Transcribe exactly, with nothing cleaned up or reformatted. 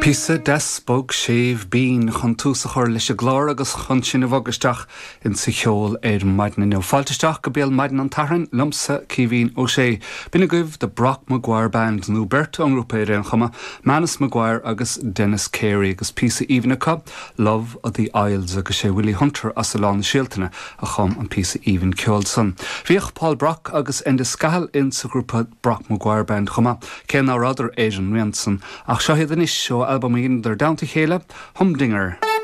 Píosa deas bog séimh binn chun tús a chur leis an gclár agus chun sinn a bhogadh isteach insa cheol ar maidin inniu. Fáilte isteach go béal maidin an tSathairn liomsa Caoimhín Ó Sé. B'in agaibh The Brock Maguire Band nó beirt ón ngrúpa ar aon chuma, Manus Maguire agus Dennis Carey agus píosa aoibhinn acu, Love of the Isles agus sé Willie Hunter as Oileán na Séaltaine a chum an píosa aoibhinn ceoil san. Bhíodh Paul Brock agus Enda Scahill insa ghrúpa Brock Maguire Band chomh maith cé nach rabhadar ar an rian san ach seo iad anois ó albam a dheineadar i dteannta a chéile, Humdinger.